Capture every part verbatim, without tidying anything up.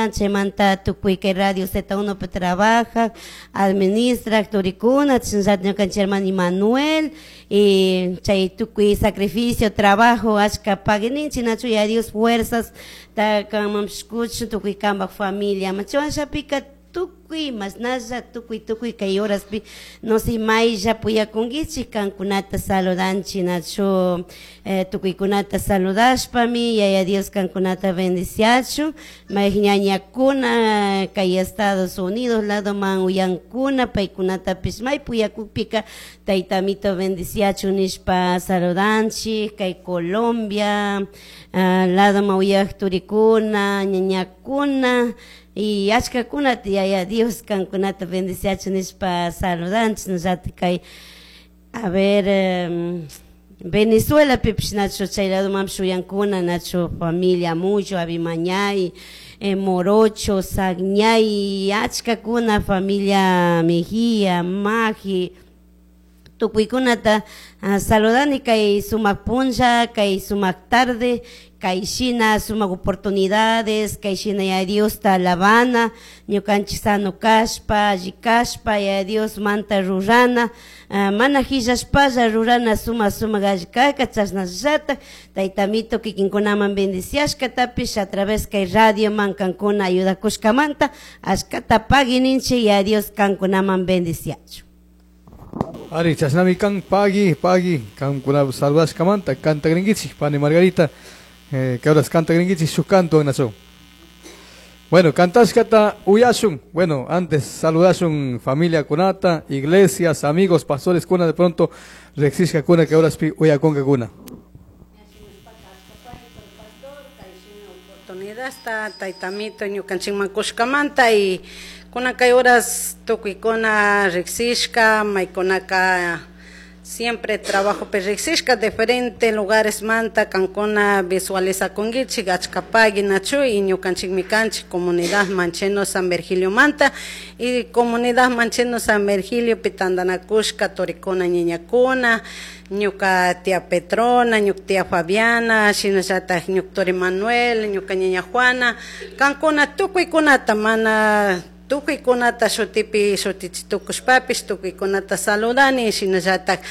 turikuna, chaymanta tukuy kay Radio Z uno pi trabajak, administrak turikuna, chashnallata ñukanchik hermano Emanuel, y chay tukuy sacrificio, trabajo, achka pagui ninchik, nachu Yaya Dios fuerzas ta kanmanpish kuchun tukuy kanpak familia. Chaywanllapika tukuy mashnalla tukuy tukuy kay horaspi no sé maylla puyakunkichik kankunata saludanchik, nachu eh, tukuykunata saludashpami Yaya Dios kankunata bendiciachun. May ñañakuna kay Estados Unidos ladoman uyankuna, paykunatapish may puyakukpika Taytamito bendiciachun nishpa saludanchik. Kay Colombia uh, ladoman uyak turikuna, ñañakuna y achkakunata Yaya Dios kankunata bendiciachun nishpa saludanchik. Nallata kay, a ver, um, Venezuela pipish nachu chay ladomanpish uyankuna, nachu familia Mucho, Abimañay, eh, Morocho, Sagñay, achkakuna familia Mejía, Maji, tukuykunata uh, saludani kay sumak punlla, kay sumak tarde, kay shina sumak oportunidades, kay shina Yaya Diosta alabana, ñukanchik sano kashpa, alli kashpa, Yaya Dios manta rurana, uh, mana hillashpalla rurana suma sumak alli kaka, chashnallata Taytamito kikinkunaman bendiciashkatapish a través kay radio man kankuna ayudakushkamanta ashkata pagui ninchik, Yaya Dios kankunaman bendiciachun. Ari, chashnami kan, pagui, pagui, kankuna saludashkamanta, cantagrinkichik, pani Margarita, eh, que horas cantagrinkichik shuk canto nacho. Bueno, cantashkata uyashun. Bueno, antes saludashun familia kunata, iglesias, amigos, pastores kuna de pronto riksishka kuna que horas pi uyakunka kuna. Oportunidad Taytamito ñukanchikman kushkamanta y kuna kay horas tukuykuna riksishka, maykunaka siempre trabajo pi riksishka diferente lugares manta kankuna visualizakunkichik, achka pagui nachu y ñukanchikmi kanchik comunidad Mancheno San Virgilio manta y comunidad Mancheno San Virgilio pi tantanakushka turikuna ñañakuna, ñuka tía Petrona, ñuka tía Fabiana, shinallatak ñuka turi Manuel, ñuka ñaña Juana, kankuna tukuykunata mana tukuykunata shutipi shutichitukushpapish tukuykunata saludani, shinallatak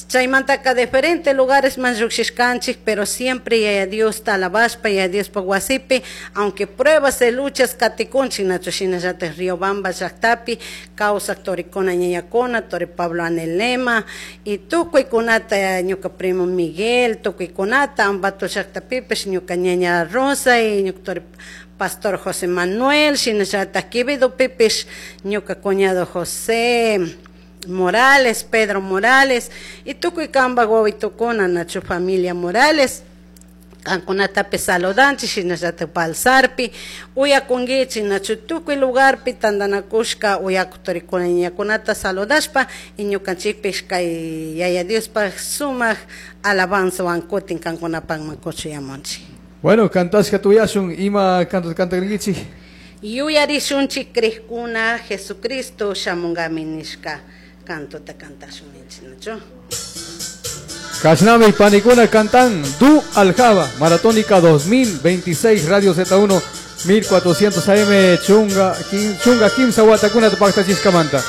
chaymantaka diferente lugares man llukshishkanchik, pero siempre Yaya Diosta alabashpa Yaya Diospak wasipi, aunque pruebas y luchas katikunchik, nachu shinallatak Riobamba llaktapi kawsak turikuna ñañakuna, turi Pablo Anelema y tukuykunata ñuka primo Miguel, tukuykunata Ambato llaktapipish ñuka ñaña Rosa y ñuka turi Pastor José Manuel, shinallatak Quevedo pipish ñuka cuñado José Morales, Pedro Morales y tukuy kanpak wawitukuna nachu familia Morales, kankunatapi saludanchik, shinallatak Balsarpi uyakunkichik, nachu tukuy lugarpi tantanakushka uyakuq turikuna ñañakunata saludashpa y ñukanchikpish kay Yaya Diospaj sumak alabanzawan kutin kankunapakman kuchuyamunchik. Bueno, cantashka tuyashun, ima canto cantagrinkichik. Yuyarishunchik krikuna Jesucristo shamunkami nishka cantota cantashun ninchik, nachu. Kashnami panikuna cantan Du Aljaba, Maratónica dos mil veintiséis, Radio Z uno, mil cuatrocientos A M, Chunga, Chunga Kimsa Watakuna Tupactachiskamanta.